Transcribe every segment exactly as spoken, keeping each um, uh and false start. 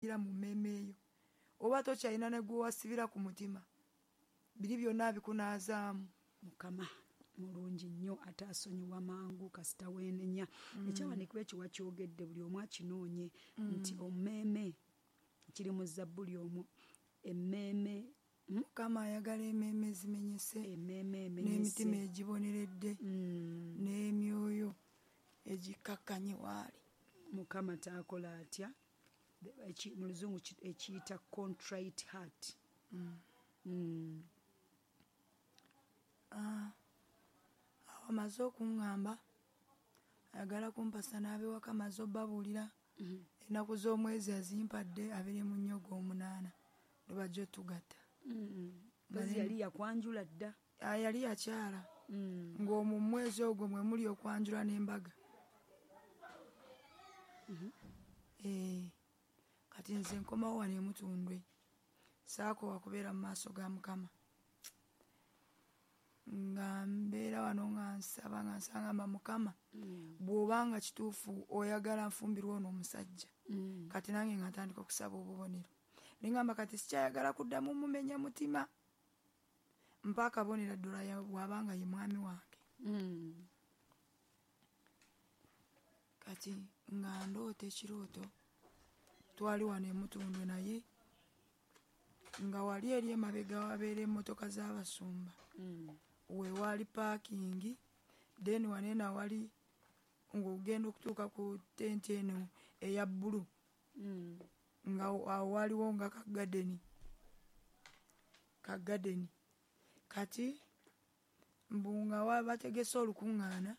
Mu mmeeme eyo oba tokyalina ne gwe wasibira ku mutima, biri byonna bikunaazaamu. Mukama mulungi nnyo, ate asonyiwa mangu kasita weenenya. Ekyawandiikibwa ekyo wakyogedde, buli omu akinoonye nti ommeeme kiri mu Zabbuli omwo, emmeeme. Mukama ayagala emmeeme ezimenyese, emmeeme emenyese, n'emitima egiboneredde, n'emyoyo egikkakkanye waali. Mukama taakola atya? Mu Luzungu ekiyita contrite heart. Mm. Awo amaze okuŋŋamba ayagala kumpasa n'abewaka, amaze obbabuulira ennaku z'omwezi azimpadde abiri mu nnyo ogw'omunaana lwe bajja otugatta. Mpozi yali yakwanjula dda? Yali yakyala, ng'omwo mu mwezi ogwo mwe muli okwanjula n'embaga. Kati nze nkomawo wano e Mutundwe, saakoowa kubeera mu maaso ga Mukama. Nga mbeera wano nga nsaba, nga nsangamba Mukama, bw'obanga kituufu oyagala nfumbirwe ono omusajja. Kati nange nga ntandika okusaba obubonero. Ne ŋŋamba kati sikyayagala kuddamu mumenya mutima, mpa akabonero ddala bw'abanga ye mwami wange. Kati nga ndoota ekirooto, twali wano e Mutundwe, naye nga wali eri emabega wabeera emmotoka z'abasumba, wewaali paakingi, then wano eno awali ng'ogenda okutuuka ku tenti eno eya bbulu, nga awo waaliwo nga kagadeni kagadeni. Kati mbu nga bategese olukuŋŋaana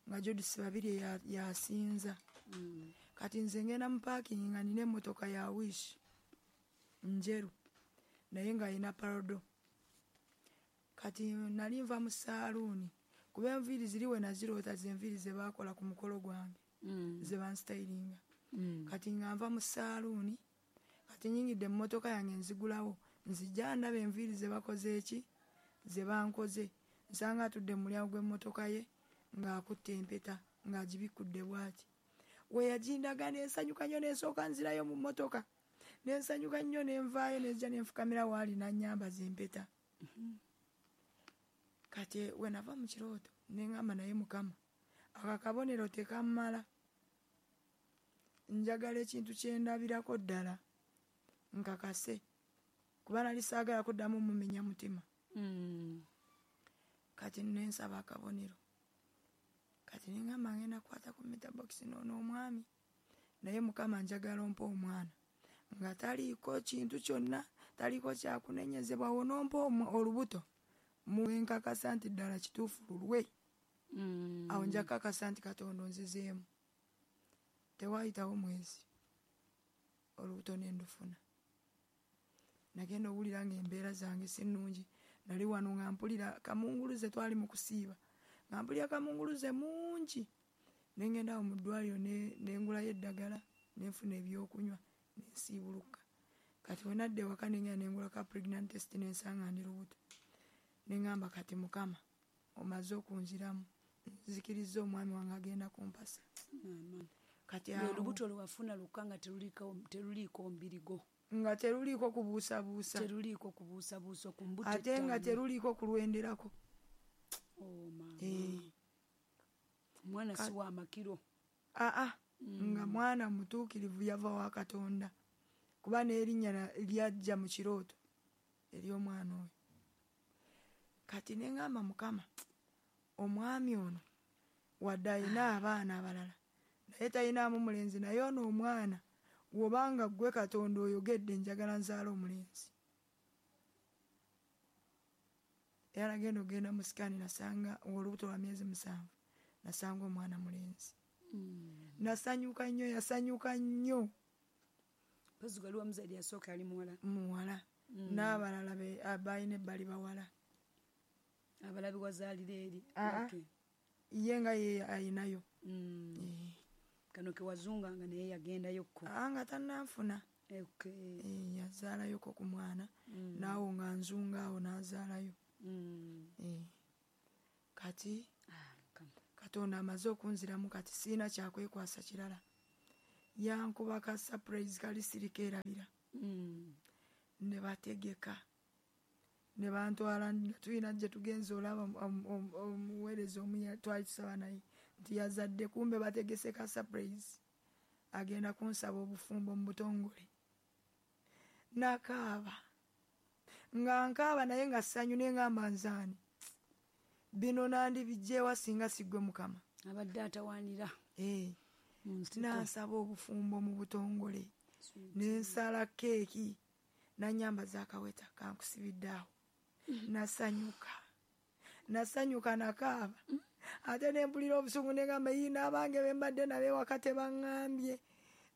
nga Judith Babirye yasinza. Kati nze ngenda mu paakingi nga nina emmotoka ya Wish njeru, naye nga yina Parado. Kati nali nva mu saaluuni, kuba enviiri ziri we naziroota ze nviiri ze baakola ku mukolo gwange, ze bansitayiringa. Kati nga nva mu saaluuni, kati nyingidde emmotoka yange nzigulawo, nzija ndaba enviiri ze bakoze eki, ze bankoze. Nsanga atudde mu mulyango gw'emmotoka ye ng'akutte empeta ng'agibikkudde bw'ati. We yagindaga ne nsanyuka nnyo, ne nsooka nzirayo mu mmotoka, ne nsanyuka nnyo, ne nvaayo ne nzija ne nfukamira waali n'annyambaza empeta. Kati we nava mu kirooto ne ŋŋamba naye Mukama, ako akabonero tekammala, njagala ekintu kye ndabirako ddala nkakase, kuba nali saagala kuddamu mumenya mutima. Kati ne nsaba akabonero. Kati ne ŋŋamba ngenda kukwata ku meter box n'ono omwami, naye Mukama njagala ompe omwana nga taliiko kintu kyonna, taliiko kyakunenyezebwa, onompa olubuto muwenkakasa nti ddala kituufu lulwe. Awo nja kukakasa nti Katonda onzizeemu. Tewaayitawo mwezi olubuto ne ndufuna. Nagenda owulira ng'embeera zange si nnungi. Nali wano nga mpulira kamunguluze, twali mu kusiiba, nga mpulira kamunguluze mungi. Ne ngenda awo mu ddwaliro ne ngulayo eddagala, ne nfuna ebyokunywa, ne nsiibuluka. Kati we nadda ewaka ne ngenda ne ngula ka pregnant test ne nsanga ndi lubuto. Ne ŋŋamba kati Mukama omaze okunziramu, nzikirizza omwami wange agenda kumpasa. Kati awo olubuto lwe wafuna lukka nga teruliiko mbirigo, nga teruliiko kubuusabuusa, teruliiko kubuusabuusa ku mbuto, ate nga teruliiko kulwenderako. Oh mama, omwana si wa makiro. Aa, nga mwana mutuukirivu, yava wa Katonda, kuba n'erinnya lyajja mu kirooto ery'omwana oyo. Kati ne ŋŋamba Mukama, omwami ono wadde alina abaana abalala, naye talinaamu mulenzi, naye ono omwana bw'obanga ggwe Katonda oyogedde, njagala nzaale omulenzi. Era nagenda okugenda mu sikaani nasanga olubuto lwa myezi musanvu, nasanga omwana mulenzi. Nasanyuka nnyo, yasanyuka nnyo. Mpozi waliwo omuzaire yasooka yali muwala? Muwala, n'abalala balina ebbali bawala. Abalabi wazaalira eri? Ye nga ye ayinayo. Kano ke wazunganga naye yagendayokko? Nga tannanfuna. Yazaalayoko ku mwana, naawo nga nzunga awo n'azaalayo. Kati Katonda amaze okunziramu, kati sirina kyakwekwasa kirala. Yankuba ka surprise kali sirikerabira. Mm. Ne bategeka. Ne bantwala tulina gye tugenze olaba omuweereza omu twali tusaba naye nti yazadde, kumbe bategese ka surprise. Agenda kunsaba obufumbo mu butongole. Nakaaba. Nga nkaaba naye nga ssanyu ne ngamba nzaani. Bino nandibijjewa singa siggwe Mukama. Abadde atawaanira. Eh. Nansaba obufumbo mu butongole. Ne nsala keeki. Nanyambaza akaweta kankusibidde awo. Nasanyuka. Nasanyuka nakaaba. Ate ne mpulira obusungu ne ngamba yii n'abange be mbadde nabo ewaka tebaŋŋambye.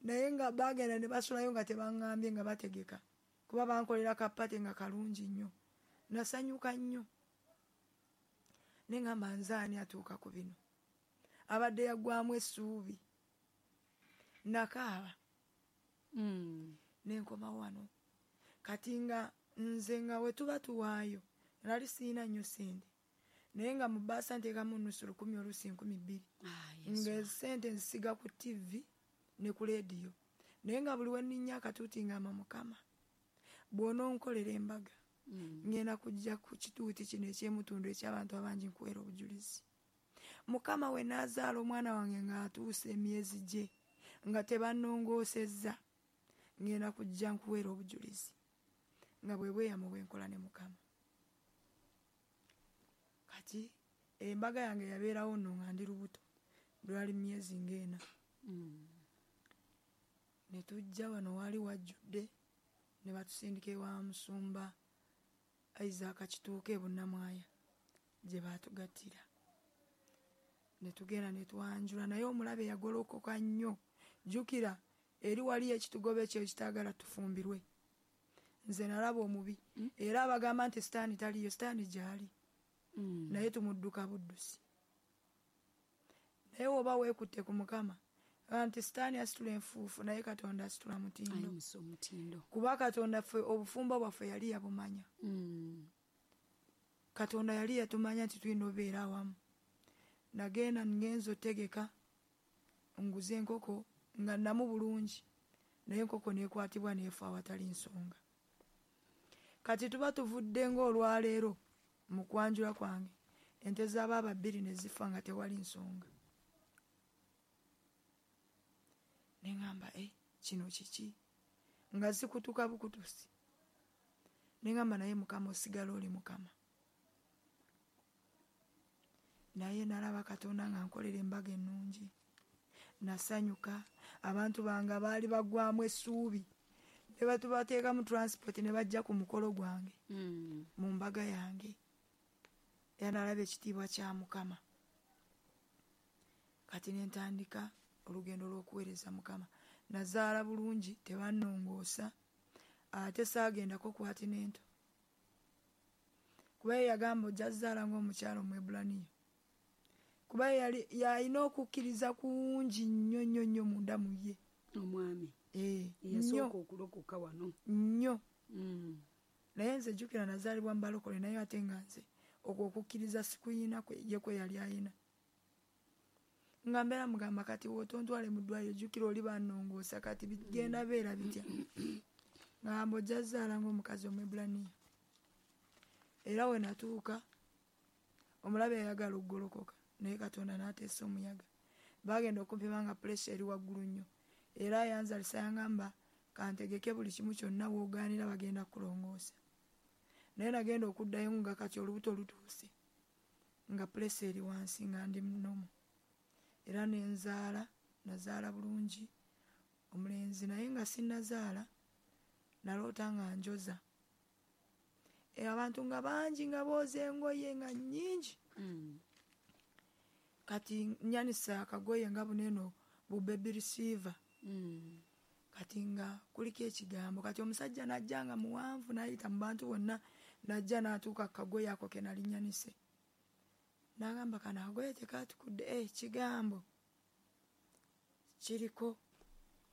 Naye nga baagenda ne basulayo nga tebaŋŋambye nga bategeka. Kuba bankolera kapate nga kalungi nnyo. Nasanyuka nnyo. Ne ngamba nze ani atuuka ku bino. Abadde yaggwamu essuubi. Nakaaba. Mm. Ne nkoma wano. Kati nga nze nga we tuba tuwaayo nali sirina nnyo ssente. Naye nga mu bbaasa nteekamu nusu lukumi oluusi nkumi bbiri. Ah, Yesu. Nga ssente nzisiga ku T V ne ku leediyo. Naye nga buli we nninnya akatuuti ngamba Mukama bw'ononkolera embaga Mm. ngenda kujja ku kituuti kino eky'emutundu eky'abantu abangi nkuweera obujulizi. Mukama we n'azaala omwana wange ng'atuuse emyezi gye nga tebannongoosezza ngenda kujja nkuweera obujulizi. Nga bwe bweyamo bwe nkola ne Mukama. Kati embaga yange yabeerawo nno nga ndi lubuto lwali myezi ng'ena. Mm. Ne tujja wano waali wajjudde ne batusindika ewa musumba Isaac Kituuka e Bunnamwaya gye baatugattira. Ne tugenda ne twanjula naye omulabe yagolokoka nnyo. Jjukira eri waliyo ekitugoba ekyo ekitaagala tufumbirwe. Nze nalaba omubi Mm. era abagamba nti sitaani taliyo, sitaani gy'ali. Mm. Naye tumudduka buddusi. Naye oba weekutte ku Mukama nti sitaani asitula enfuufu naye Katonda asitula mutindo. Ayimusa omutindo. Kuba Katonda ffe obufumbo bwaffe yali yabumanya. Mm. Katonda yali yatumanya nti tulina obeera awamu. Nagenda ngenza otegeka nguze enkoko nga nnamu bulungi naye enkoko n'ekwatibwa n'efa awatali nsonga. Kati tuba tuvudde ng'olwaleero mu kwanjula kwange ente z'abaaba bbiri ne zifa nga tewali nsonga. Ne ŋŋamba eh, kino kiki? Nga zikutuka bukutusi. Ne ŋŋamba naye Mukama osigala oli Mukama. Naye nalaba Katonda nga nkolera embaga ennungi. Nasanyuka abantu bange baali baggwamu essuubi. Ne batubateekamu transport ne bajja ku mukolo gwange. Mm. Mu mbaga yange. Era nalaba ekitiibwa kya Mukama. Kati ne ntandika olugendo lw'okuweereza Mukama. Nazaala bulungi tebannongoosa ate saagendako kwatinento. Kuba ye yagamba ojja zaala ng'omukyala Omwebbulaniya. Kuba ye yali yalina okukkiriza kungi nnyo nnyo nnyo munda mu ye. Omwami. Eh, Eyasooka nnyo. okulokoka wano. Nnyo. Mm. Naye nze jjukira nazaalibwa mu balokole naye ate nga nze okwo okukkiriza sikuyina kwe ye kwe yali ayina. Nga mbeera mugamba kati w'otontwale mu ddwaliro jjukira oli bannongoosa kati bigenda beera bitya. Ngamba ojja zaala ng'omukazi Omwebbulaniya. Era we natuuka omulabe yayagala okugolokoka naye Katonda n'ateesa omuyaga. Baagenda okumpima nga puleesa eri waggulu nnyo. Era yanzalisa yangamba kantegeke buli kimu kyonna w'ogaanira bagenda kukulongoosa. Naye nagenda okuddayo nga kati olubuto lutuuse nga puleesa eri wansi nga ndi nnomo. Era ne nzaala, nazaala bulungi omulenzi naye nga sinnazaala naloota nga njoza. E, abantu nga bangi nga booza engoye nga nnyingi. Mm. Kati nnyanisa akagoye nga buneeno bu baby receiver. Mm. Kati nga kuliko ekigambo. Kati omusajja n'ajja nga muwanvu n'ayita mu bantu bonna n'ajja n'atuuka ku kagoye ako ke nali nnyanise. N'agamba kano akagoye tekaatukudde, eh, kigambo kiriko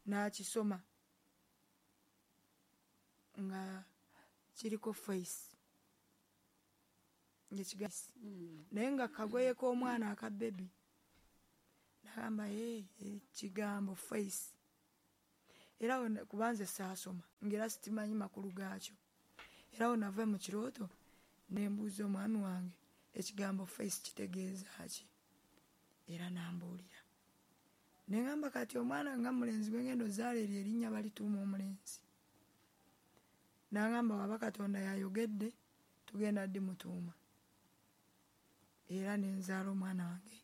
n'akisoma nga kiriko face. Ng'ekigambo. Mm. Naye nga kagoye k'omwana aka baby. N'agamba eh, ekigambo face. Era kubanze saasoma ngera sitimanyi makulu gaakyo. Era nava mu kirooto ne mbuuza omwami wange ekigambo face kitegeeza ki, era n'ambuulira. Ne ŋŋamba kati omwana nga mulenzi gwe ngenda ozaala eryo erinnya balituuma omulenzi. N'aŋŋamba waba Katonda yayogedde tugenda ddi mutuuma. Era ne nzaala omwana wange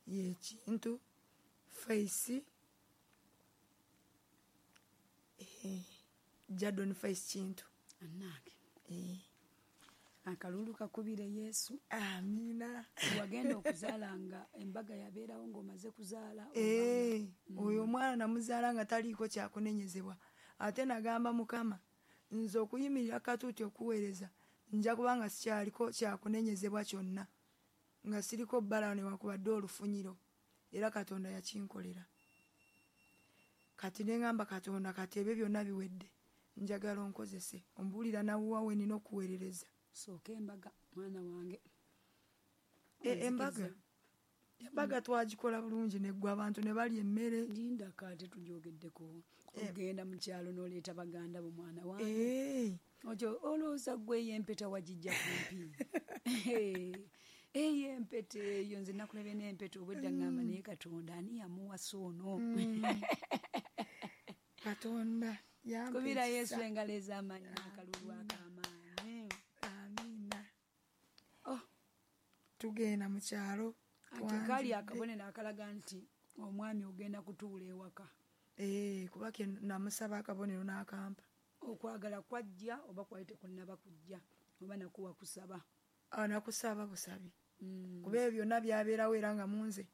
ye Kintu Face, eh, Jadon Face Kintu. Annange. Eh. Akalulu kakubire Yesu. Amina. Wagenda okuzaala nga embaga yabeerawo ng'omaze kuzaala. Eh, oyo omwana namuzaala nga taliiko kyakunenyezebwa. Ate nagamba Mukama nze okuyimirira katuuti okuweereza nja kubanga sikyaliko kyakunenyezebwa kyonna, nga siriko bbala newakubadde olufunyiro. Era Katonda yakinkolera. Kati ne ŋŋamba Katonda kati ebyo byonna biwedde, njagala onkozese, ombuulira nawuwa we nnina okuweerereza. Sooka embaga mwana wange. E, embaga embaga twagikola bulungi neggwa abantu ne balya emmere. Lindako ate tugyogeddeko. Ogenda mu kyalo n'oleeta baganda bo mwana wange. Eh. Otyo olowooza ggwe eyo empeta wagijja kumpi. Eyo empeta eyo nze nakulabye n'empeta obwedda ŋŋamba naye Katonda ani yamuwasa ono? Katonda yampa Kubira ekisa. Yesu engalo ez'amaanyi n'akalulu ak'amaanyi. Amiina. Oh. Tugenda mu kyalo. Ate kaali akabonero akalaga nti omwami ogenda kutuula ewaka. Eh, kuba ke namusaba akabonero n'akampa. Okwagala kwajja oba kwali tekunnaba kujja oba nakuwa kusaba? Ah, nakusaba busabi. Mm. Kuba ebyo byonna byabeerawo era nga munze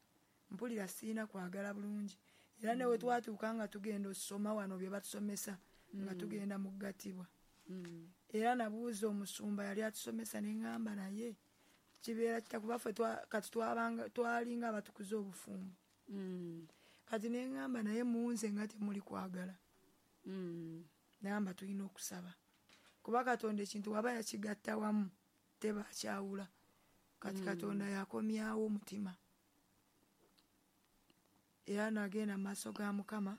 mpulira siina kwagala bulungi. Era ne we twatuuka nga tugenda ossoma wano bye batusomesa nga tugenda mu kugattibwa. Mm. Era nabuuza omusumba yali atusomesa ne ŋŋamba naye kibeera kita kuba ffe kati twabanga twalinga abatukuza obufumbo. Mm. Kati ne ŋŋamba naye munze nga temuli kwagala. Mm. Namba tulina okusaba. Kuba Katonda ekintu waba yakigatta wamu tebakyawula. Kati Mm. Katonda yakomyawo omutima. Era nagenda mu maaso ga Mukama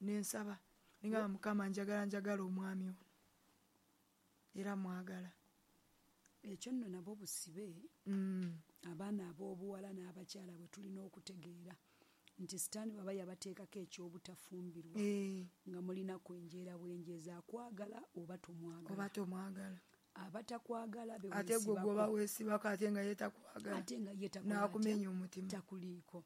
ne nsaba. Ne ŋŋamba Mukama njagala njagala omwami ono. Era mwagala. Ekyo nno nabwo busibe. Mm. Abaana ab'obuwala n'abakyala bwe tulina okutegeera nti Sitaani bw'aba yabateekako eky'obutafumbirwa Eh. nga mulina kwenjeera bwenjeeza akwagala oba tomwagala. Oba tomwagala. Abatakwagala be Ate gwe weesibako. gwoba weesibako ate nga ye takwagala. Ate nga ye takwagala. N'akumenya omutima. Takuliiko.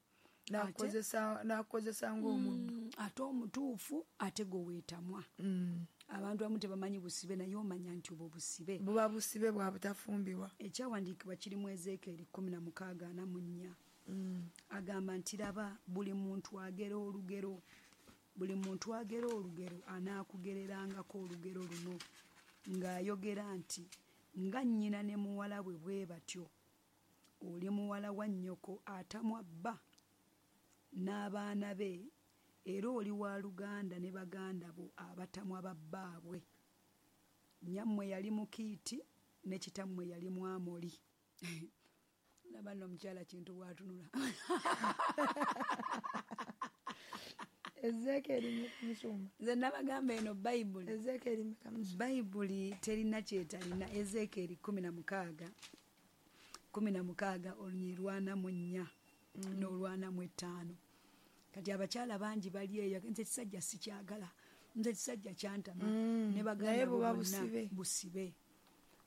N'akukozesa, n'akukozesa ng'omuddu. Mm, ate omutuufu ate gwe weetamwa. Mm. Abantu abamu tebamanyi busibe naye omanya nti obwo busibe. Buba busibe bwa butafumbirwa. Ekyawandiikibwa kiri mu Ezeekyeri kkumi na mukaaga ana mu nnya. Mm. Agamba nti laba buli muntu agera olugero, buli muntu agera olugero anaakugererangako olugero luno ng'ayogera nti nga nnyina ne muwala bwe bwe batyo, oli muwala wa nnyoko atamwa bba n'abaana be, era oli wa luganda ne baganda bo abatamwa ba bbaabwe. Nnyammwe yali Mukiiti ne kitammwe yali Mwamoli. Laba nno omukyala Kintu bw'atunula. Ezeekyeri musumba. Nze nabagamba eno Bayibuli. Ezeekyeri musumba. Bayibuli terina kyetalina. Ezeekyeri kkumi na mukaaga. Kkumi na mukaaga olunyiriri lwana mu nnya Mm. n'olwana mu ttaano. Kati abakyala bangi bali eyo, nze ekisajja sikyagala, nze ekisajja kyantama. Mm. Ne baganda Naye buba bo bonna busibe. busibe.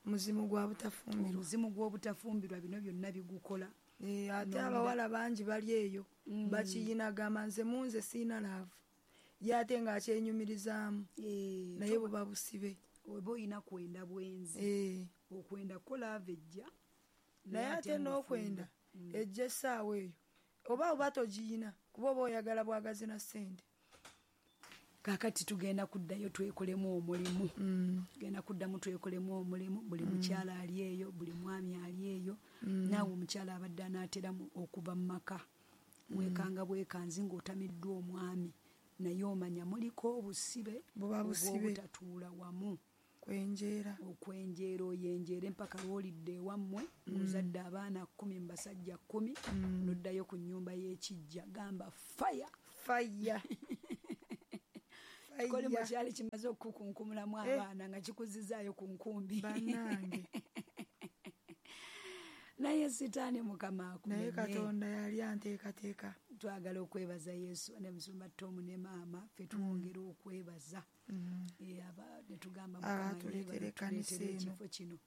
Muzimu gwa butafumbirwa. Omuzimu gw'obutafumbirwa bino byonna bigukola. Eh, ate Nonda. abawala bangi bali eyo Mm. bakiyina gamba nze munze siina laavu, ye ate ng'akyenyumirizaamu. Eh, Naye buba busibe. Oba olina kwenda bwenzi. Eh. Okwenda ko laavu ejja. Naye ate n'okwenda Mm. ejja essaawa eyo oba oba togiyina kuba oba oyagala bwagazi na ssente. Kaakati tugenda kuddayo twekolemu omulimu. Mm. Tugenda kuddamu twekolemu omulimu. Buli mukyala ali eyo, buli mwami ali eyo. Mm. Naawe omukyala abadde anaatera okuva mu maka, weekanga bwekanzi ng'otamiddwa omwami, naye omanya muliko obusibe Buba busibe. obw'obutatuula wamu. Kwenjeera. Okwenjeera oyenjeere mpaka lw'olidde ewammwe, ng'ozadde abaana kkumi mu basajja kkumi, Mm. n'oddayo ku nnyumba y'ekijja. Gamba fire. Fire. Ekikolimo kyali kimaze okukunkumulamu abaana nga kikuzizaayo ku nkumbi. Bannange. Naye sitaani Mukama akumenye. Naye Katonda yali anteekateeka. Twagala okwebaza Yesu ne musumba Tom ne maama ffe twongera okwebaza. Ne tugamba Mukama atuleetere ekkanisa eno. Ekifo kino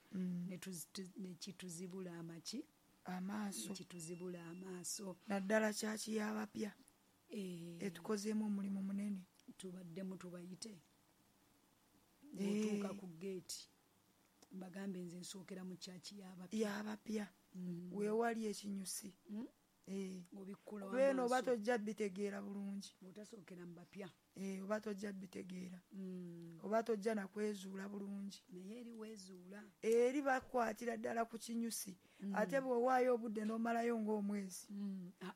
ne kituzibula amaki amaaso. Kituzibula amaaso. Naddala kyaki y'abapya. Etukozeemu omulimu munene. Tubaddemu tubayite. Bw'otuuka ku geeti mbagambe nze nsookera mu kyaki y'abapya. Y'abapya. Weewali ekinyusi. Obikkula Beeno oba tojja bitegeera bulungi. Bw'otasookera mu bapya. Oba tojja bitegeera. Oba tojja na kwezuula bulungi. Naye eri weezuula. Eri bakwatira ddala ku kinyusi. Ate bw'owaayo obudde n'omalayo ng'omwezi.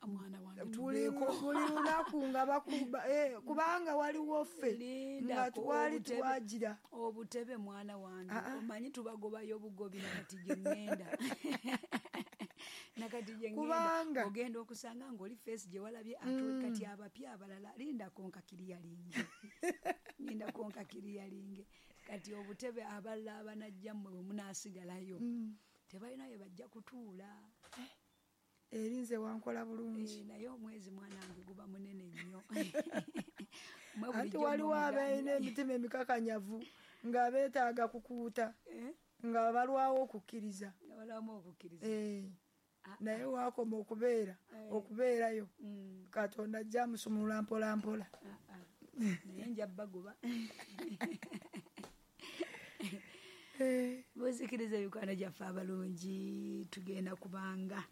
Mwana wange Buli lunaku nga bakuba kubanga waliwo ffe nga twali twagira. Obutebe mwana wange omanyi tubagobayo obugobi nakati gye ŋŋenda. Nakati gye ŋŋenda ogenda okusanga ng'oli feesi gye walabye ate kati abapya abalala lindako nkakiriyalinge. Lindako nkakiriyalinge. Kati obutebe abalala abanajja mmwe bwe munaasigalayo tebalina we bajja kutuula. Eri nze wankola bulungi. Naye omwezi mwana wange guba munene nnyo. Anti waliwo abalina emitima emikakanyavu nga beetaaga kukuuta nga balwawo okukkiriza. Nga balwamu okukkiriza. Naye waakoma okubeera okubeerayo Katonda ajja amusumulula mpola mpola. Naye nja bagoba. Muzikiriza emikwano gyaffe abalungi tugenda kubanga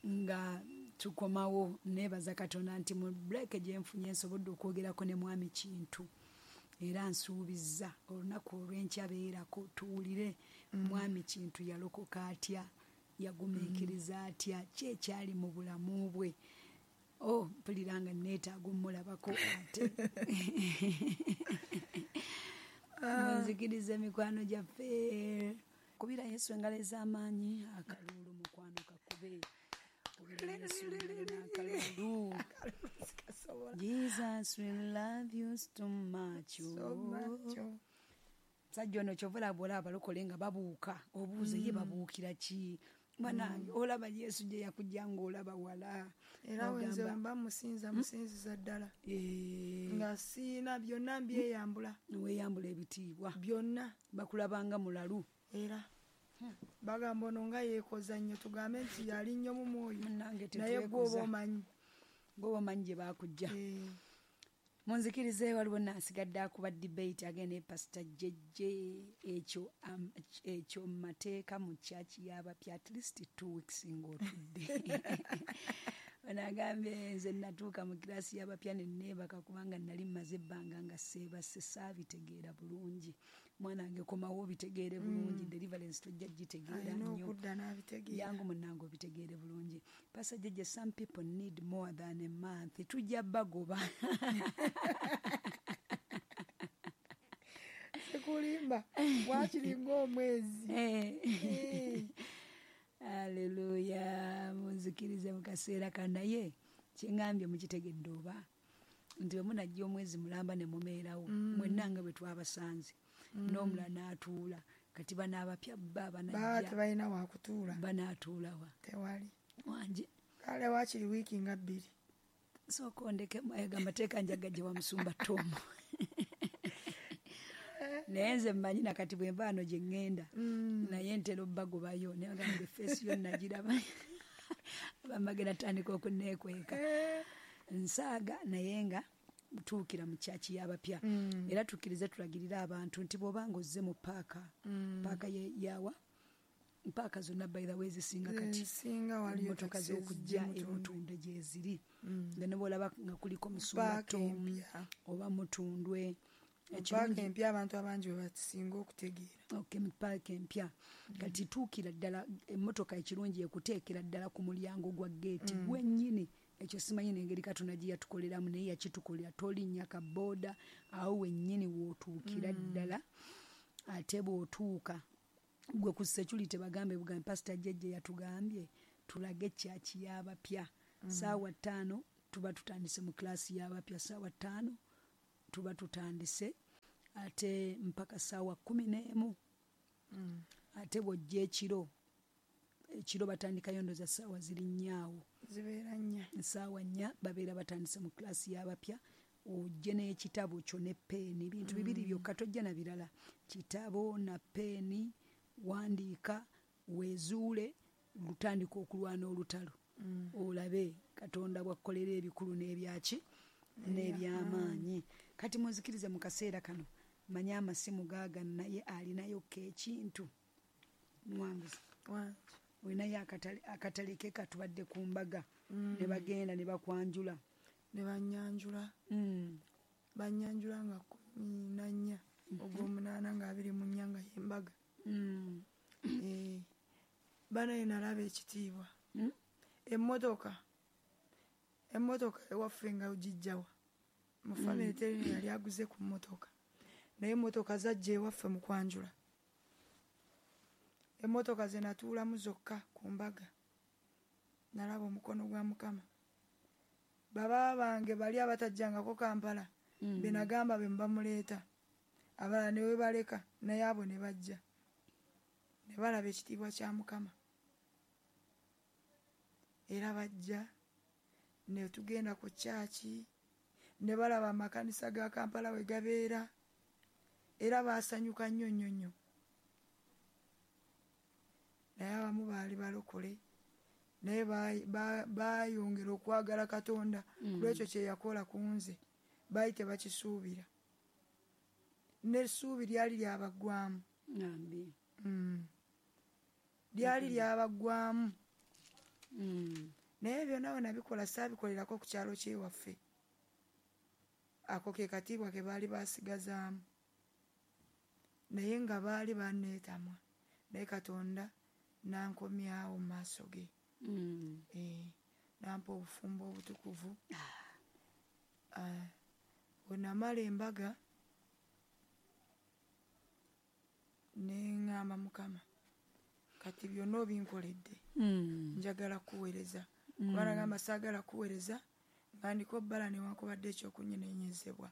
nga tukomawo. Neebaza Katonda nti mu break gye nfunye nsobodde okwogerako ne mwami Kintu. Era nsuubizza olunaku olw'enkya beerako tuwulire mwami Kintu yalokoka atya, yagumiikiriza atya, ki ekyali mu bulamu bwe. Oh, mpulira nga neetaaga omulabako ate. Munzikiriza emikwano gyaffe. Kubira Yesu engalo ez'amaanyi, akaluulu mukwano kakube. Kubira Yesu akalulu. Jesus will love you so much. So much. Musajja ono kyova olaba olaba abalokole nga babuuka, obuuze ye babuukira ki? Mwanange olaba Yesu gye yakujja ng'olaba wala. Era wenze mba musinza musinziza ddala. Nga siina byonna mbyeyambula. Weeyambula ebitiibwa. Byonna. Bakulabanga mulalu. Era bagamba ono nga yeekoza nnyo tugambe nti yali nnyo mu mwoyo. Naye gw'oba omanyi. Gw'oba omanyi gye baakujja. Munzikirize waliwo nasigadde akuba debate agenda ne Pastor Jejje ekyo ekyo mateeka mu church y'abapya at least two weeks ng'otudde. Onagambye nze natuuka mu kirasi y'abapya ne neebaka kubanga nali mmaze ebbanga nga seebase saabitegeera bulungi. Mwana wange komawo obitegeere bulungi, deliverance tojja gitegeera nnyo. Yangu munnange obitegeere bulungi. Pastor Jejje, some people need more than a month. Tujja bagoba. Sikulimba waakiri ng'omwezi. Haleluya. Munzikirize mu kaseera kano naye kye ŋŋambye mukitegedde oba nti bwe munajja omwezi mulamba ne mumeerawo mwenna nga bwe twabasanze n'omulala n'atuula. Kati bano abapya bba banajja tebalina wakutuula. Banaatuulawa? Tewali. Wangi? Kale waakiri wiiki nga bbiri. Sooka ondeke ago amateeka njagajje wa musumba Tom. Naye nze mmanyi nakati bwe nva wano gye ŋŋenda naye ntera obbagobayo naye bagamba feesi yo nagiraba abamagenda tandika okunneekweka. Nsaaga naye nga tuukira mu kyaki y'abapya. Era tukkirize tulagirire abantu nti bw'obanga ozze mu paaka, paaka yawa paaka zonna by the way zisinga kati emmotoka z'okujja emutundwe gyeziri. Nga ne bw'olaba nga kuliko musumba Tom oba Mutundwe. Paaka empya abantu abangi bwe basinga okutegeera. Okay, paaka empya. Kati tuukira ddala emmotoka ekirungi ekuteekera ddala ku mulyango gwa geeti gwennyini. Ekyo simanyi n'engeri Katonda gye yatukoleramu naye yakitukolera tolinnya ka booda awo wennyini w'otuukira ddala. Ate bw'otuuka gwe ku security bagambe bugambe Pastor Jejje yatugambye tulage kyaki y'abapya. Ssaawa ttaano tuba tutandise mu kilasi y'abapya ssaawa ttaano tuba tutandise ate mpaka ssaawa kkumi n'emu. Mm. Ate bw'ojja ekiro, ekiro batandikayo ndowooza ssaawa ziri nnya awo. Zibeera nnya. Ssaawa nnya babeera batandise mu kilasi y'abapya. Ojje n'ekitabo kyo ne peeni, bintu bibiri byokka, tojja na birala. Kitabo na peeni, wandiika, weezuule, lutandika okulwana olutalo. Mm. Olabe Katonda bw'akkolera ebikulu n'ebyaki n'ebyamaanyi. Kati munzikirize mu kaseera kano manye amasimu gaagano, naye alinayokko ekintu. Muwanguzi. Wangi. Olinayo akatale, akatale ke katubadde ku mbaga. Mm. Ne bagenda ne bakwanjula. Ne bannyanjula. Mm. Bannyanjula nga kkumi na nnya, Mhm. ogw'omunaana nga abiri mu nnya nga y'embaga. Mm. Eh, banaye nalaba ekitiibwa. Mm. Emmotoka. Emmotoka ewaffe nga ogiggyawa. Mu famire Mm. teri yali aguze ku mmotoka. Naye emmotoka zajja ewaffe mu kwanjula. Emmotoka ze natuulamu zokka ku mbaga. Nalaba omukono gwa Mukama. Baba bange bali abatajjangako Kampala, Mm. be nagamba be mubamuleeta. Abalala ne webaleka, naye abo ne bajja. Ne balaba ekitiibwa kya Mukama. Era bajja, ne tugenda ku kyaki, ne balaba amakanisa ga Kampala we gabeera. Era baasanyuka nnyo nnyo nnyo. Naye abamu baali balokole, naye ba-, ba-, baayongera okwagala Katonda Mm. lw'ekyo kye yakola ku nze. Baali tebakisuubira. N'essuubi lyali lyabaggwamu. Nambi. Mm. Lyali Mm. lyabaggwamu. Mm. Naye byonna bwe nabikola saabikolerako ku kyalo ky'ewaffe. Ako ke katiibwa ke baali baasigazaamu. Naye nga baali banneetamwa. Naye Katonda n'ankomyawo mu maaso ge. Mm. Eh, n'ampa obufumbo obutukuvu. Ah. Ah, bwe namala embaga, ne ŋŋamba Mukama, kati byonna obinkoledde. Mm. Njagala kuweereza. Mm. Kuba nagamba saagala kuweereza, nga ndiko bbala newankubadde ekyokunyenenyezebwa.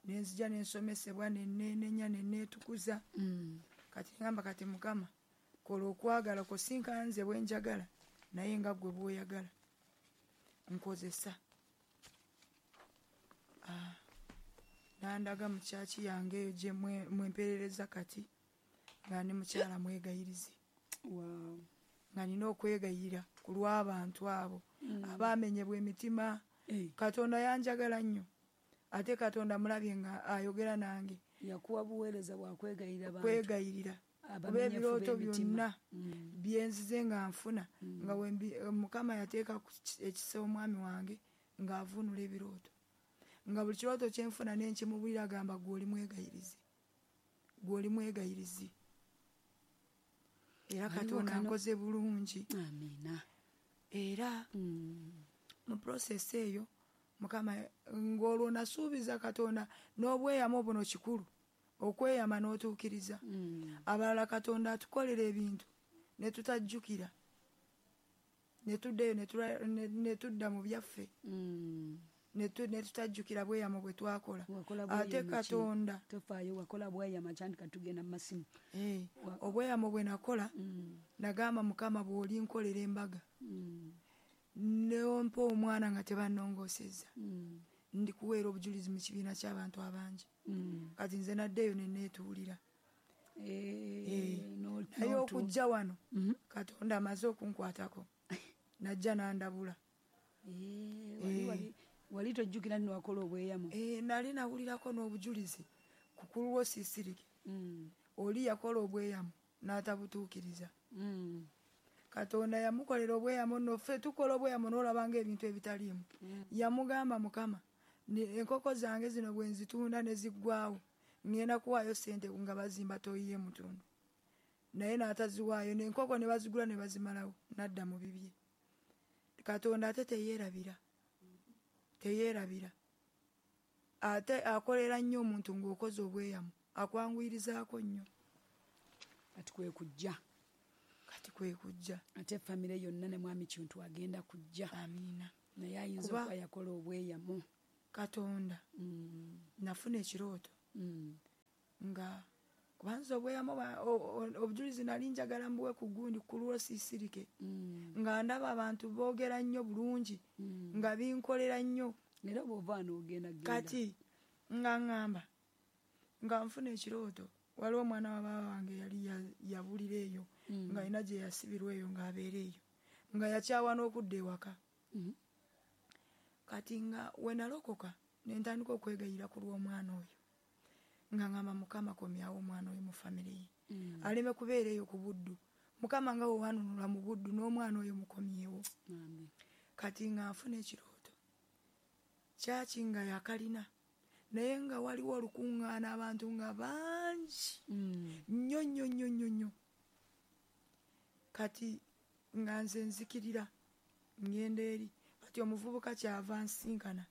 Ne nzija ne nsomesebwa, ne nneenenya, ne neetukuza. Mm. Kati ŋŋamba kati Mukama, kola okwagala kwo, si nka nze bwe njagala, naye nga ggwe bw'oyagala. Nkozesa. Ah, n'andaga mu kyaki yange eyo gye mwe-, mwe mpeerereza kati, nga ndi mukyala mwegayirizi. Wow. Nga nina okwegayirira ku lw'abantu abo Mm. abaamenyebwa emitima. Eh. Katonda yanjagala nnyo. Ate Katonda mulabye nga ayogera nange. Yakuwa buweereza bwa kwegayirira bantu. Kwegayirira. Abamenyefu Kuba ebirooto b'emitima. byonna Mm. bye nzize nga nfuna, Mm. nga wembi, Mukama yateeka ku ki-, ekisa omwami wange ng'avunula ebirooto. Nga buli kirooto kye nfuna ne nkimubuulira agamba ggwe oli mwegayirizi. Ggwe oli mwegayirizi. Era Waliwo Katonda kano ankoze bulungi. Amiina. Era Mm. mu process eyo Mukama ng'olwo nasuubiza Katonda n'obweyamo buno kikulu. Okweyama n'otuukiriza. Mm. Abalala Katonda atukolera ebintu ne tutajjukira. Ne tuddayo ne tula-, ne, ne tudda mu byaffe. Mm. Ne tu-, ne tutajjukira bweyamo bwe twakola. Wakola Ate bweyamo ki? Katonda. Tofaayo, wakola bweyamo kyandika tugenda mu masimu. Eh, Wa- obweyamo bwe nakola, Mm. nagamba Mukama bw'olinkolera embaga. Mm. Ne ompa omwana nga tebannongoosezza. Mm. Ndikuweera obujulizi mu kibiina ky'abantu abangi. Mm. Kati nze naddeyo ne neetuulira. Eh, Eh, no, naye no okujja wano, Mm-hmm. Katonda amaze okunkwatako. Najja n'andabula. Eh, wali, Eh. wali, wali tojjukira nno wakola obweyamo? Eh, nali nawulirako n'obujulizi ku kulwo Siisirike. Mm. Oli yakola obweyamo n'atabutuukiriza. Mm. Katonda yamukolera obweyamo nno, ffe tukola obweyamo n'olaba ng'ebintu ebitaliimu. Mm. Yamugamba Mukama, ne, enkoko zange zino bwe nzitunda ne ziggwaawo, ŋŋenda kuwaayo ssente nga bazimba toyiye mutundu. Naye n'ataziwaayo, n'enkoko ne bazigula ne bazimalawo, n'adda mu bibye. Katonda ate teyeerabira. Teyeerabira. Ate akolera nnyo omuntu ng'okoze obweyamo, akwanguyirizaako nnyo. Kati kwe kujja. Kati kwe kujja. Ate famire yonna ne Mwami Kintu agenda kujja. Amiina. Naye ayinza Kuba okuba yakola obweyamo. Katonda Mm. nafuna ekirooto Mm. nga kubanza obweyamo bwa- o- o- obujulizi nali njagala mbuwe ku gundi ku lwo siisirike Mm. nga ndaba abantu boogera nnyo bulungi Mm. nga binkolera nnyo. Era bw'ova wano ogenda genda. Kati nga ŋŋamba nga nfuna ekirooto, waliwo omwana wa baaba wange yali ya- yabulira eyo Mm. nga alina gye yasibirwa eyo ng'abeera eyo nga yakyawa n'okudda ewaka. Mm. Kati nga we nalokoka ne ntandika okwegayira ku lw'omwana oyo nga ŋŋamba Mukama komyawo omwana oyo mu famire ye Mm. aleme kubeera eyo ku buddu. Mukama nga wewanunula mu buddu n'omwana oyo mukomyewo. Amen. Kati nga nfuna ekirooto kyaki nga yakalina naye nga waliwo olukuŋŋaana abantu nga bangi Mm. nnyo nnyo nnyo nnyo nnyo. Kati nga nze nzikirira ngenda eri, kati omuvubuka kyava nsinkana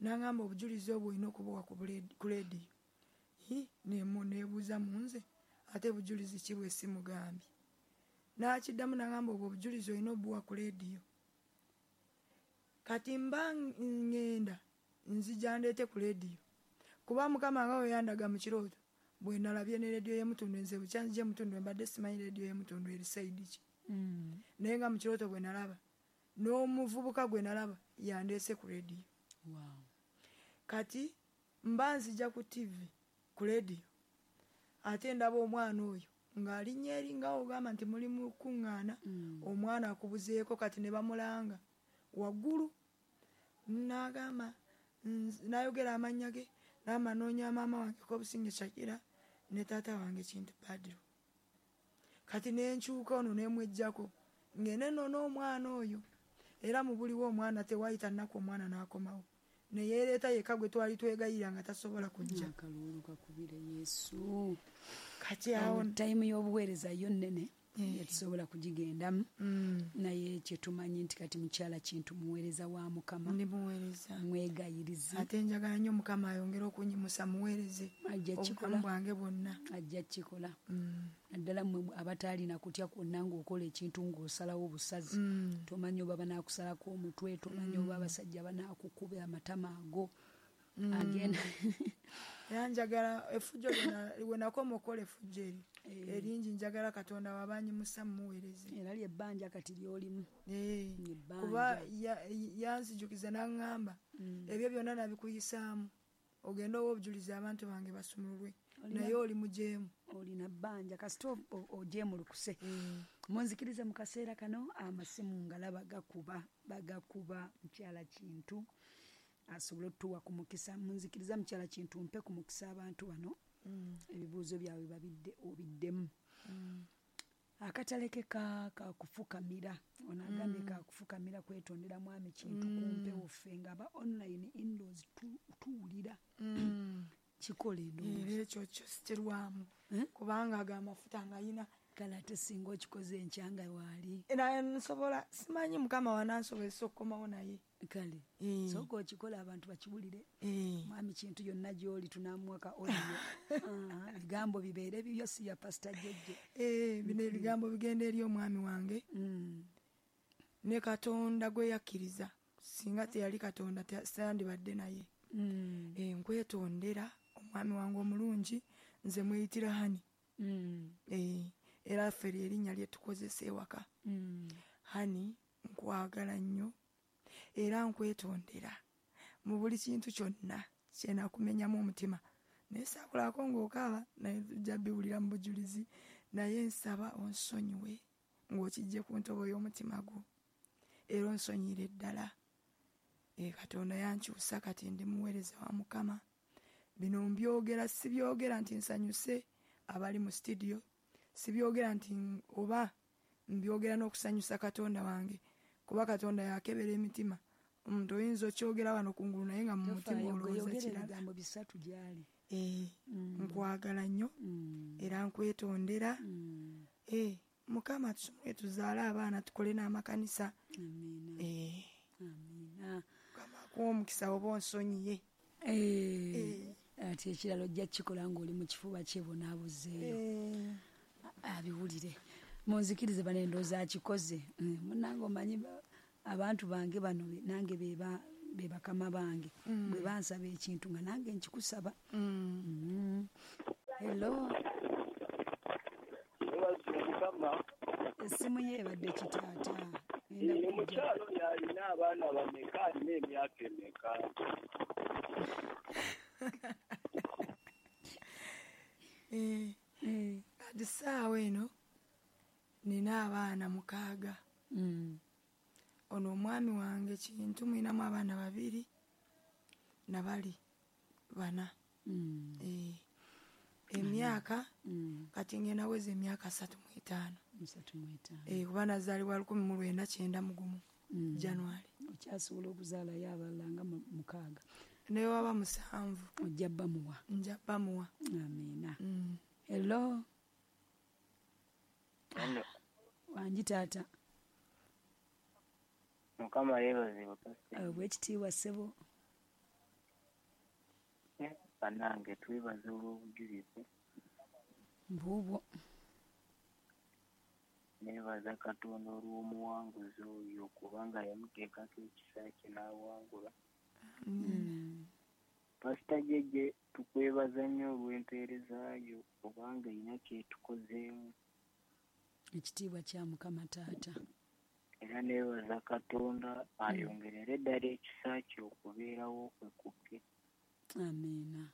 n'aŋŋamba obujulizi obwo olina okubuwa ku buledi-, ku leediyo. Hi, nemu-, neebuuza mu nze ate bujulizi ki bwe simugambye. N'akiddamu n'aŋŋamba obwo obujulizi olina obuwa ku leediyo. Kati mba ŋŋenda nzija ndeete ku leediyo kuba Mukama nga bwe yandaga mu kirooto bwe nalabye ne leediyo y'e Mutundwe, nze bukya nzija e Mutundwe mbadde simanyi leediyo y'e Mutundwe eri sayidi ki. Mm. Naye nga mu kirooto bwe nalaba n'omuvubuka gwe nalaba yandeese ku leediyo. Wow. Kati mba nzija ku T V ku leediyo ate ndaba omwana oyo ng'alinnya eri nga ogamba nti muli mu kuŋŋaana, Mm. omwana akubuzeeko kati ne bamulanga waggulu n'agamba nz-, n'ayogera amannya ge n'amanoonya maama wange Kobusinge Shakira ne taata wange Kintu Badru. Kati ne nkyuka ono ne mweggyako ngende nno n'omwana oyo era mu buliwo omwana tewayita nnaku omwana n'akomawo ne yeereeta yekka gwe twali twegayirira nga tasobola kujja. Akaluulu kakubire Yesu. Kati awo Awo tayimu y'obuweereza yo nnene Eh. tetusobola kugigendamu. Mm. Naye kye tumanyi nti kati mukyala Kintu muweereza wa Mukama. Ndi muweereza. Mwegayirizi. Ate njagala nnyo Mukama ayongere okunyimusa muweereze Ajja obulamu kukikola. bwange bwonna. Ajja kukikola. Mm. Naddala mmwe abataalina kutya kwonna ng'okola ekintu ng'osalawo busazi. Mm. Tomanyi oba banaakusalako omutwe, tomanyi oba abasajja banaakukuba amatama ago. Mm. Agenda. Era njagala effujjo lyonna, we nakoma okukola effujjo eryo Eh. eringi, njagala Katonda wabanyimusa mmuweereze. Era ly'ebbanja kati ly'olimu. Eh. Ebbanja. Kuba ya-, yanzijukiza n'aŋŋamba, Mm. ebyo byonna nabikuyisaamu ogende owe obujulizi abantu bange basumululwe, Olina naye oli mujeemu. Olina bbanja kasita o-, o-, ojeemulukuse. Mm. Munzikirize mu kaseera kano amasimu ngalaba gakuba, bagakuba mukyala Kintu asobole otuwa ku mukisa. Munzikiriza mukyala Kintu mpe ku mukisa abantu bano. Mm. Ebibuuzo byabwe babidde obiddemu. Mm. Akatale ke ka, ka kufukamira. Ono agambye Mm. ka kufukamira kwetondera mwami Kintu Mm. ku mpewo ffe nga aba online indoors tu-, tuwulira. Mm. Kikola endowooza. Era ekyo kyo sikirwamu. Eh? Kubanga ago amafuta ng'ayina. Kale ate singa okikoze enkya nga waali. Era nsobola, simanyi Mukama wanansobozesa okukomawo naye. Kale. Eh. Sooka okikola abantu bakiwulire. Eh. Mwami Kintu yonna gy'oli tunaamuwa ka audio. Ah, ebigambo bibeere bibyo si ya Pastor Jejje. Eh, bino ebigambo bigenda eri omwami wange. Mm. Ne Katonda gwe yakkiriza. Singa teyali Katonda, te-, sandibadde naye. Mm. Eh, nkwetondera omwami wange omulungi, nze mweyitira Hani. Mm. Eh, era ffe lye erinnya lye tukozesa ewaka. Mm. Hani, nkwagala nnyo era nkwetondera mu buli kintu kyonna kye nakumenyamu omutima. Naye saakulako ng'okaaba, naye tujja biwulira mu bujulizi. Naye nsaba onsonyiwe ng'okijje ku ntobo y'omutima gwo, era onsonyire ddala. Eh, Katonda yankyusa kati ndi muweereza wa Mukama. Bino mbyogera, sibyogera nti nsanyuse abali mu studio, sibyogera nti oba mbyogera n'okusanyusa Katonda wange, kuba Katonda yakebera emitima. Omuntu oyinza okyogera wano kungulu naye nga mu mutima Tofaayo, olowooza gwe yogera kirala. ebigambo bisatu gy'ali. Eh, Mm. nkwagala nnyo, Mm. era nkwetondera. Mm. Eh, Mukama tusumule tuzaale abaana tukole n'amakanisa. Amiina. Eh. Amiina. Mukama akuwe omukisa oba onsonyiye. Eh. Eh. Ate ekirala ojja kukikola ng'oli mu kifuba kye bonaabuzeeyo. Eh. Abiwulire. Munzikirize bano endowooza akikoze. Eh, munnange omanyi ba-, abantu bange bano be-, nange be ba-, Be bakama bange. Mm. Bwe bansaba ekintu nga nange nkikusaba. Mm. Mm. Hello. Essimu ye ebadde kitaata. Omukyalo yalina abaana bameka, alina emyaka emeka? Eh, Eh. kati ssaawa eno nina abaana mukaaga. Mm. Ono omwami wange Kintu mwinamu abaana babiri nabali bana. Mm. Eh, emyaka Mm. kati ngenda weza emyaka asatu mu etaano. Asatu mu etaano. Eh, kuba nazaalibwa lukumi mu lwenda kyenda mu gumu Mm. January. Okyasobola okuzaalayo abalala nga mu-, mukaaga. Ne waba musanvu. Ojja bamuwa. Nja bamuwa. Amiina. Mm. Hello. Hello. Wangi taata. Mukama yeebazibwe pastor. Obwekitiibwa ssebo. Bannange twebaza olw'obujulizi. Mbuubwo. Neebaza Katonda olw'omuwanguzi oyo kubanga yamuteekako ekisa kye n'awangula. Mm. Pastor Jeje, tukwebaza nnyo olw'empeereza yo kubanga erina kyetukozeemu. Ekitiibwa kya Mukama taata. Era neebaza Katonda ayongerere ddala ekisa kye okubeerawo kwe kukke. Amiina.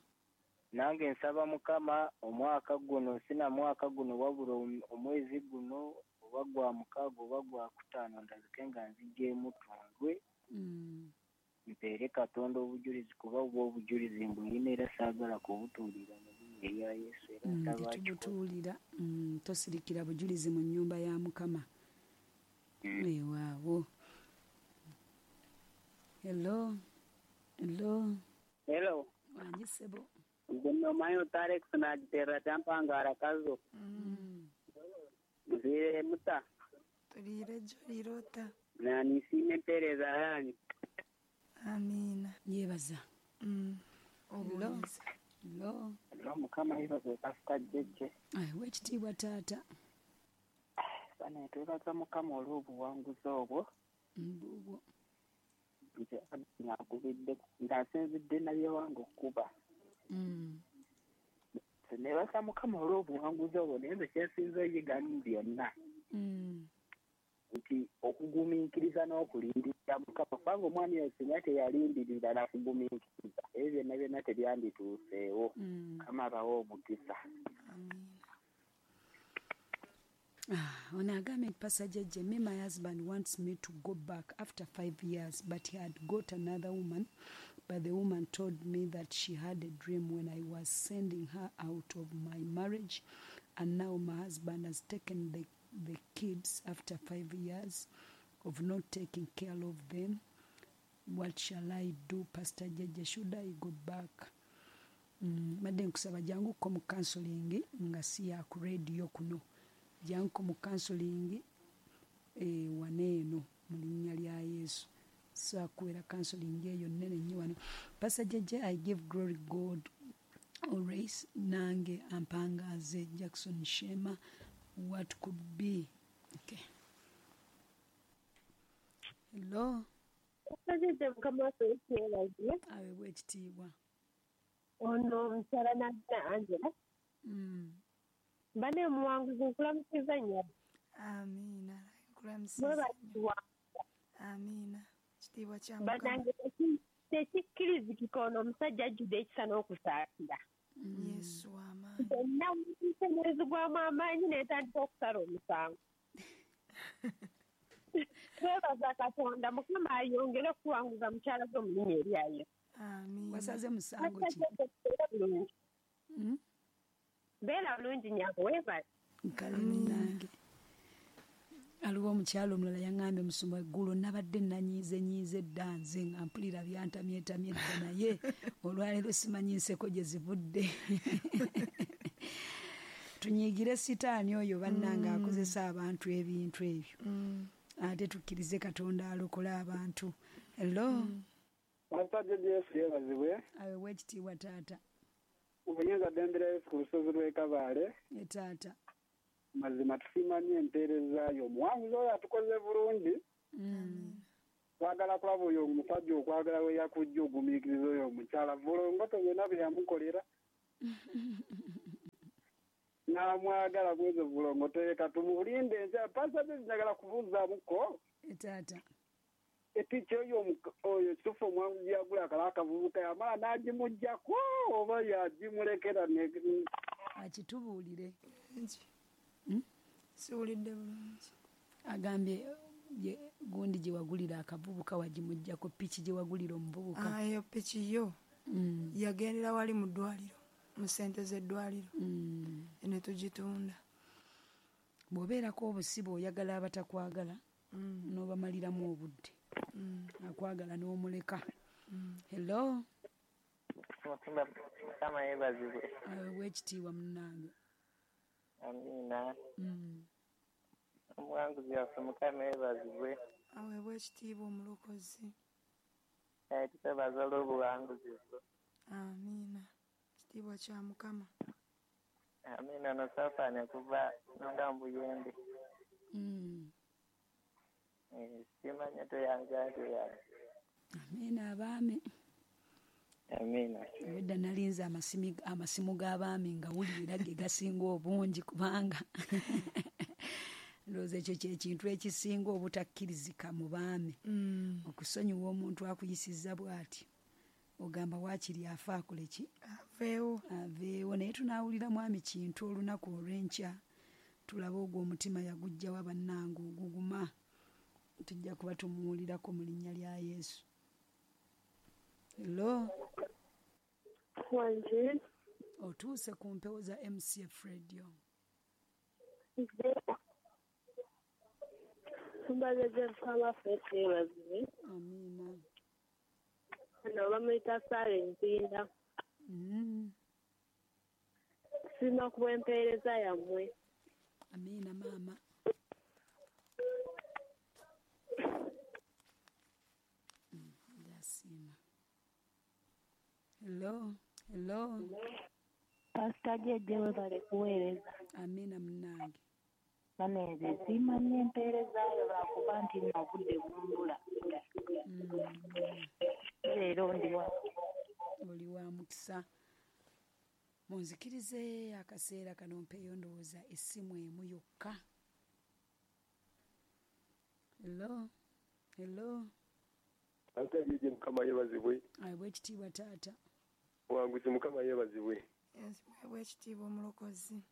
Nange nsaba Mukama omwaka guno, sina mwaka guno wabula omwezi guno oba gwa mukaaga oba gwa kutaano ndabike nga nzigyemu tundwe. Mm. Mpeere Katonda obujulizi kuba bwo obujulizi mbulina era saagala kubutuulira mu linnya erya Yesu era Mm, nsaba akikole. tetubutuulira. Mm, tosirikira bujulizi mu nnyumba ya Mukama. Mm. Weewaawo. Hello. Hello. Hello. Wangi ssebo. Nze nnomanyi Otarex nagiterera kyampangara kazo. Mm. Nziire muta. Tuliire jjo lirota. Na nisiime empeereza yanyu. Amiina. Yeebaza. Mm. Hello. Obuweereza. Hello. Hello, Mukama yeebazibwe Pastor Jeje. Ayi, wekitiibwa taata. Bane twebaza Mukama olw'obuwanguzi obwo. Mbuubwo. Nze nakubidde nga nsinzidde nabyewange okukuba. Mm. Neebaza Mukama olw'obuwanguzi obwo naye nze kyensinze oyiga mu byonna. Mm. Nti okugumiikiriza n'okulindirira Mukama, kubanga omwami oyo singa teyalindirira na kugumiikiriza, ebyo byonna byonna tebyandituuseewo. Mm. Mukama abawe omukisa. Amiina. Ah, ono agambye nti Pastor Jeje, me my husband wants me to go back after five years, but he had got another woman. But the woman told me that she had a dream when I was sending her out of my marriage, and now my husband has taken the, the kids after five years of not taking care of them. What shall I do, Pastor Jeje? Should I go back? Mm, madde nkusaba janguko mu counseling nga si ya ku radio kuno. Janguko mu counseling eh, waneeno mu linnya lya Yesu. So akuwera counseling eyo nnene nnyo wano. Pastor Jeje, I give glory God always. Nange ampangaze Jackson Shema. What could be? Okay. Hello. Pastor Jeje, Mukama waffe Yesu yeebazibwe. Aweebwe ekitiibwa. Ono omukyala Nagina Angela. Mm. Bane omuwanguzi nkulamusiza nnyo. Amiina. Nkulamusiza nnyo. Mwebazibwa. Amiina. Kitiibwa kya Mukama. Bannange teki- tekikkirizikika ono omusajja ajjudde ekisa n'okusaasira. Mm. Yesu w'amaanyi. Byonna wuuise n'ezigwamu amaanyi n'etandika okusala omusango. Twebaza Katonda Mukama ayongere okuwanguza mukyala gwe mu linnya erya Yesu. Amiina. Wasaze musango ki? Beera bulungi. Mm? Beera bulungi nnyabo, weebale. Kale munnange. Aliwo omukyala omulala yaŋŋambye musumba eggulo nabadde nanyiize nyiize dda nze nga mpulira byantamyetamye dda naye olwaleero simanyi nseko gye zivudde. Tunyiigire sitaani oyo bannange akozesa abantu ebintu ebyo. Mm. Ate tukkirize Katonda alokola abantu. Hello. Pastor Jeje, Yesu yeebazibwe. Aweebwe ekitiibwa taata. Obuyinza ddembe lya Yesu ku lusozi lw'e Kabaale. Ye taata. Mazima tusiima nnyo empeereza yo. Omuwanguzi oyo atukoze bulungi. Mm. Twagala kulaba oyo omusajja okwagala we yakujja ogumiikiriza oyo omukyala vulongoto byonna bye yamukolera n'amwagala bwezo vulongoto ye katumulinde ensi pasita njagala kubuuzaamuko taata epiki oyo oyo kituufu omwangu gyagula akala akavubuka yamala n'agimuggyako oba yagimulekera akitubuulire siwulidde bulungi agambye gundi gye wagulira akavubuka wagimuggyako piki gye wagulira omuvubuka eyo piki yo yagendera wali mu ddwaliro mu ssente z'eddwaliro ne tugitunda bw'obeerako obusibe oyagala abatakwagala n'obamaliramu obudde akwagala n'omuleka hello Mukama yeebazibwe wekitiibwa munnange amiina omuwanguzi waffe Mukama yeebazibwe aweebwa ekitiibwa omulokozi tukwebaza olw'obuwanguzi bwo amiina kitiibwa kya Mukama amiina ono Safaani okuva nonga mu Buyende simanya toyanja toyanja amiina abaami amiina obwedda nalinze amasimu g'abaami nga wulira ge gasinga obungi kubanga ndowooza ekyo kyekintu ekisinga obutakkirizika mu baami okusonyiwa omuntu akuyisizza bw'ati ogamba waakiri afa akole ki aveewo aveewo naye tunaawulira mwami Kintu olunaku olw'enkya tulabe ogwo omutima yaguggyawa bannange oguguma tujja kuba tumuwulirako mu linnya lya Yesu hello wanje otuuse ku mpewo za M C F Radio Mbaze Mukama waffe yeebazibwe amiina ono bamuyita Sara Empinda nsiima ku bw'empeereza yammwe amiina maama ndasiima hello hello Pasita Jjejje webale kuweereza amiina munnange banenze nsiima nnyo empeerezaayo lwakuba nti nno obudde bumbula leero ndi wa oli wa mukisa munzikirize akaseera kano mpeeyo ndowooza essimu emu yokka hello hello Pasita Jjejje Mukama yeebazibwe aweebwe ekitiibwa taata omuwanguzi Mukama yeebazibwe aweebwe ekitiibwa omulokozi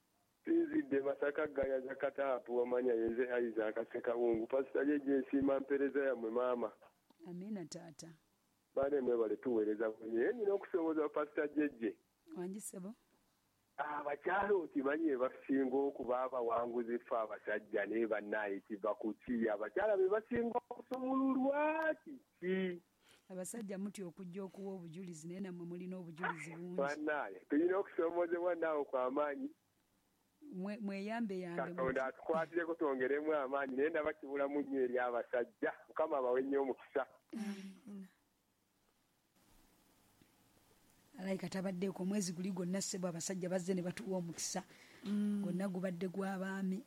Sinzidde Masaka Gayaza Kataapu wamanya yenze Isaac Ssekawungu Pasita Jjejje nsiima mpeereza yammwe maama amiina taata baane mwebale tuweereza naye nina okusomooza Pasita Jjejje wangi ssebo abakyala okimanyi basinga okuba abawanguzi ffe abasajja naye bannaaye kiva ku ki abakyala be basinga okusumululwa kiki abasajja mutya okujja okuwa obujulizi naye nammwe mulina obujulizi bungi bannaaye tulina okusomoozebwa naawe kw'amaanyi mweyambe yambe Katonda atukwatireko twongeremu amaanyi naye ndaba kibulamu nnyo eri abasajja Mukama abawe nnyo omukisa alayika tabaddeeko omwezi guli gwonna ssebo abasajja bazze ne batuwa omukisa gwonna gubadde gw'abaami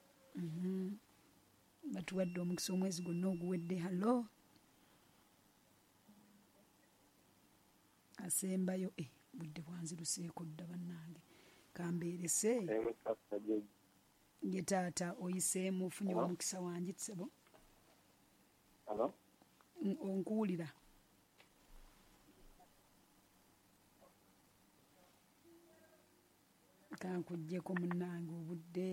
batuwadde omukisa omwezi gwonna oguwedde hallo asembayo eh budde bwanziruseeko dda bannange kambeerese ye taata oyiseemu ofunye omukisa wangi ssebo onkuwulira kankuggyeko munnange obudde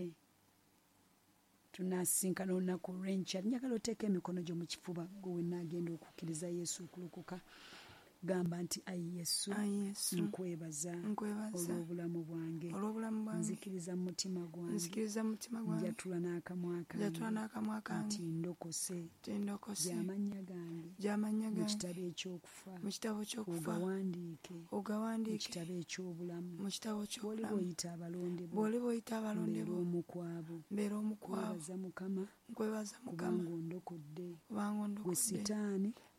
tunasinkana olunaku olw'enkya njagala oteeka emikono gyo mu kifuba gwe wenna agenda okukkiriza Yesu okulokoka gamba nti ayi Yesu nkwebaza olw'obulamu bwange nzikiriza mu mutima gwange njatula n'akamwa kange nti ndokose gy'amannya gange mu kitabo ekyokufa ogawandiike mu kitabo eky'obulamu bw'oliba oyita abalonde bo mbeera omu ku abo nkwebaza Mukama kubanga ondokodde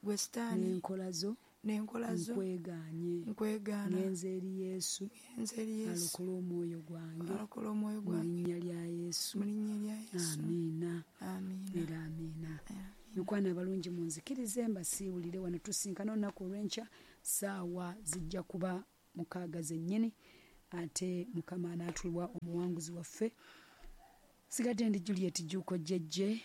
gwe Sitaani n'enkola zo n'enkola zo nkwegaanye nkwegaana ngenze eri Yesu ngenze eri Yesu alokole omwoyo gwange alokole omwoyo mu gwange linnya lya Yesu mu linnya lya Yesu amiina amiina era amiina. Bamikwano abalungi, munzikirize mbasiiwulire wano. Tusinkana olunaku olw'enkya, saawa zijja kuba mukaaga zennyini, ate Mukama anaatuwa omuwanguzi waffe. Sigadde ndi Juliet Juuko Jjejje.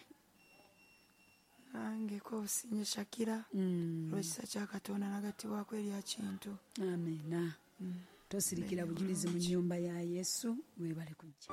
Nange Kobusinge Shakira, olw'ekisa kya Katonda nagattibwako erya Kintu. Amiina. Tosirikira bujulizi mu nnyumba ya Yesu. Mwebale kujja.